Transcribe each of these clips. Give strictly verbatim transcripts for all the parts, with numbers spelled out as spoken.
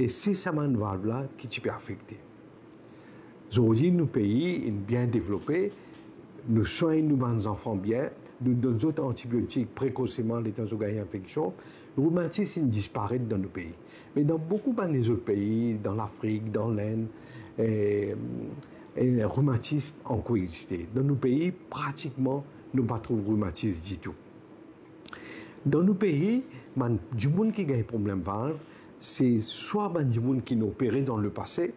E se sa bann valv la ki ti pe afekte. Zordi nou pei inn bien devlope, nou swagn nou bann zanfan bien, nou donn zot antibiotik prekoseman letan zot gagn infeksion, romatis inn disparet dan nou pei. Me dan boukou bann lezot pei, dan Lafrik, dan Lenn, e, e romatis ankor existe. Dan nou pei, pratikman, nou pa trouv romatis ditou. Dan nou pei, bann dimoun ki gagn problem valv, se swa bann dimoun ki inn opere dan lepase,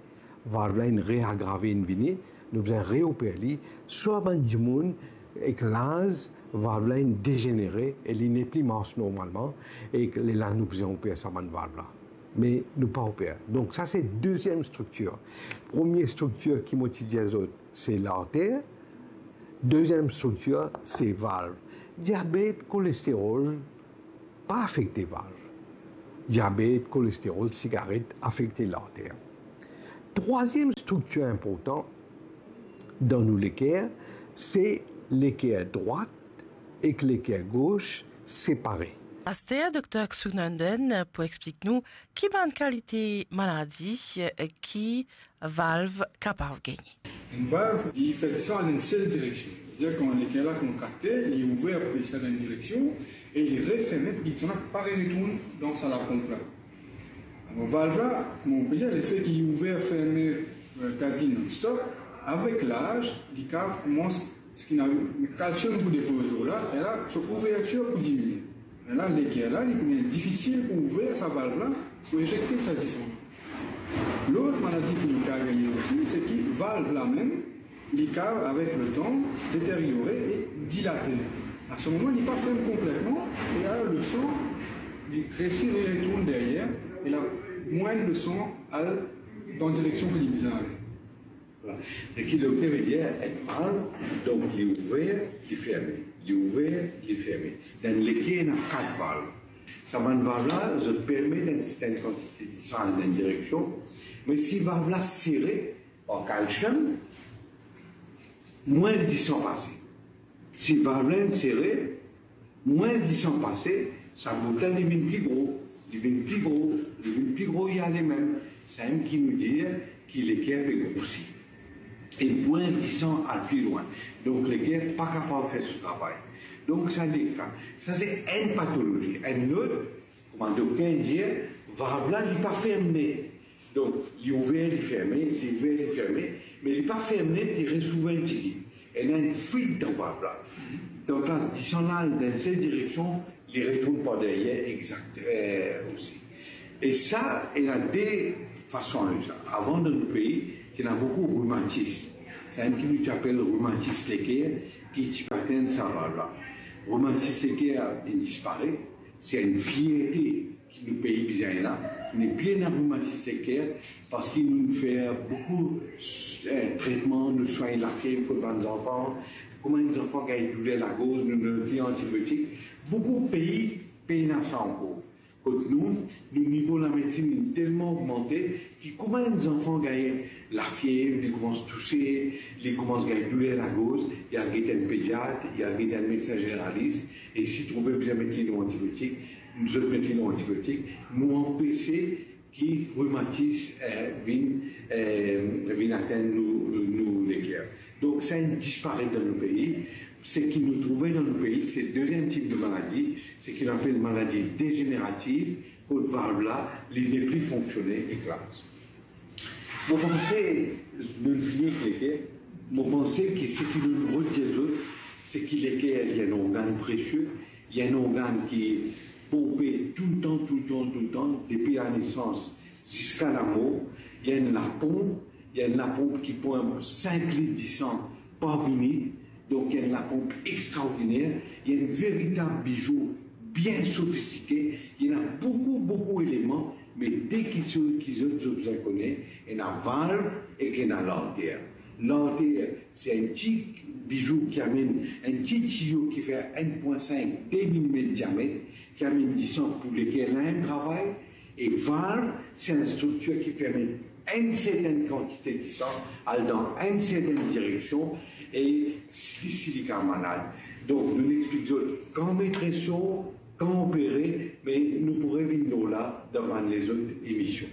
valv la inn reagrave, inn vini, nou bizin reoper li, swa bann dimoun ek laz, valv la inn dezenere e li nepli mars normalman, e lerla nou bizin oper sa bann valv la. Me nou pa oper. Donk sa se deziem striktir. Premie striktir ki mo ti dir zot, se larter. Deziem striktir, se valv. Diabet, kolesterol, pa afekte valv. Diabet, kolesterol, sigaret afekte larter. Trwaziem striktir inportan dan nou leker, se leker drwat ek leker gos separe. Aster, Dokter Sunandan pou explik nou ki bann kalite maladi ki valv kapav gagne. Enn valv, li fer disan dan enn sel direksion. Savedir kan leker la kontrakte, li ouver pou disan dan enn direksion e li referme pou disan la pa retourn dan sa laponp la. Alor, valv la, mo pe dir, lefe ki li ouver, ferme, eh, kazi non-stop, avek laz, li kav koumans, seki ena kalsiom pou depoz lor la, e la, so ouvertir pou diminie. E la, leker la, li pou vinn difisil pou ouver sa valv la, pou ezekte sa disan. Lot maladi ki nou kav gagne osi, seki valv la mem, li kav, avek letan, deteryore e dilate. A se moman, li pa ferm konpletman, e alor lesan, li resi retourn deryer, e la, mwin lesan al dan direksion ki li bizin ale. Voilà. E ki donk, savedir, enn valv, donk, li ouver, li ferme, li ouver, li ferme. Dan leker, ena kat valv. Sa bann valv la, zot permet enn sertenn kantite disan al dan enn direksion, me si valv la sere, an kalsiom, mwins disan pase. Si valv la inn sere, mwins disan pase, sa bout la li vinn pli gro, li vinn pli gro, li vinn pli gro, li ale mem. Samem ki nou dir ki leker pe grosi. E mwins disan al pli lwin. Donk leker pa kapav fer so travay. Donk sa li extra. Sa se enn patolozi. Enn lot, kouma dokter dir, valv la li pa ferm net. Donk, li ouver, li ferme, li ouver, li ferme, me li pa ferm net, li res ouver enn tigit. Ena enn fwit dan valv la. Donk la, disan la al dan enn sel direksion, li retourn par deryer, exakt, eh, osi. E sa, ena de fason ar sa. Avan, dan nou pei, ti ena boukou romatis. Samem ki nou ti apel romatis leker, ki ti pe atenn sa valv la. Romatis leker inn disparet, se enn fierte ki nou pei bizin la, nepli ena romatis leker, parski nou fer boukou, eh, tretman, nou swagn lafiev kot bann zanfan, kouma enn zanfan gagn douler lagorz, nou donn li antibiotik. Boukou pei pena sa ankor. Kot nou, nou nivo lamedsin inn telman ogmante ki kouma enn zanfan gagn lafiev, li koumans touse, li koumans gagn douler lagorz, li al get enn pediat, li al get enn medsin zeneralis, e si trouve bizin met li lor antibiotik, zot met li lor antibiotik, nou anpese ki romatis, eh, vinn, eh, vinn atenn nou, nou leker. Donk, sa inn disparet dan nou pei. Seki nou trouve dan nou pei, se deziem tip de maladi, seki nou apel maladi dezenerativ, kot valv la, li nepli fonksione ek laz. Mo panse, nou fini ek leker, mo panse ki seki nou rod dir zot, seki leker, li enn organn presie, li enn organn ki ponpe toultan, toultan, toultan, depi lanesans ziska lamor, li enn laponp, li enn laponp ki ponp sink lit disan par minit, donk li enn laponp extraordiner, li enn veritab bizou bien sofistike, li ena boukou, boukou eleman, me de kiksoz ki zot, zot bizin kone, ena valv ek ena larter. Larter, se enn ti bizou ki amenn, enn ti tiyo ki fer enn pwin sink, de milimet diamet, ki amenn disan pou leker la enn travay, e valv, se enn striktir ki permet enn sertenn kantite disan al dan enn sertenn direksion, e si, si li kav malad. Donk, nou explik zot kan met reso, kan opere, me nou pou revinn lor la dan bann lezot emision.